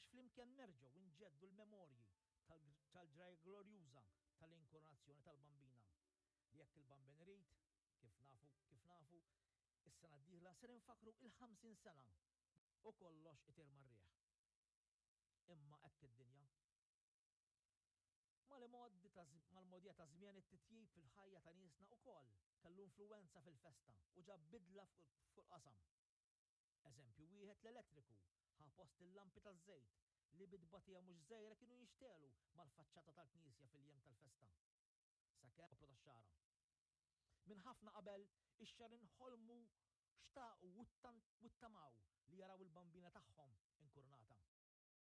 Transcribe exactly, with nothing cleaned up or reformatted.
Sabiex flimkien nerġgħu nġeddu l-memorji tal-ġrajja glorjuża tal-inkoronazzjoni tal-Bambina. Li jekk il-Bambin irid, kif nafu, kif nafu, is-sena d-dieħla ser infakru il-ħamsin sena u kollox itir mar-riħ. Imma hekk id-dinja. Mal-modi mal-modija ta' żmien, it-titjib fil-ħajja ta' niesna ukoll kellu influenza fil-festa u ġab bidla fuq il-qasam. Eżempju wieħed, l-elettriku ħa post il-lampi taż-żejt li bi tbatija mhux żgħira kienu jinxtegħlu mal-faċċata tal-knisja fil-jiem tal-festa. Sakemm poplu tax-Xagħra. Minn ħafna qabel ix-Xagħrin ħolmu, xtaqu u ttamaw li jaraw il-Bambina tagħhom inkurunata.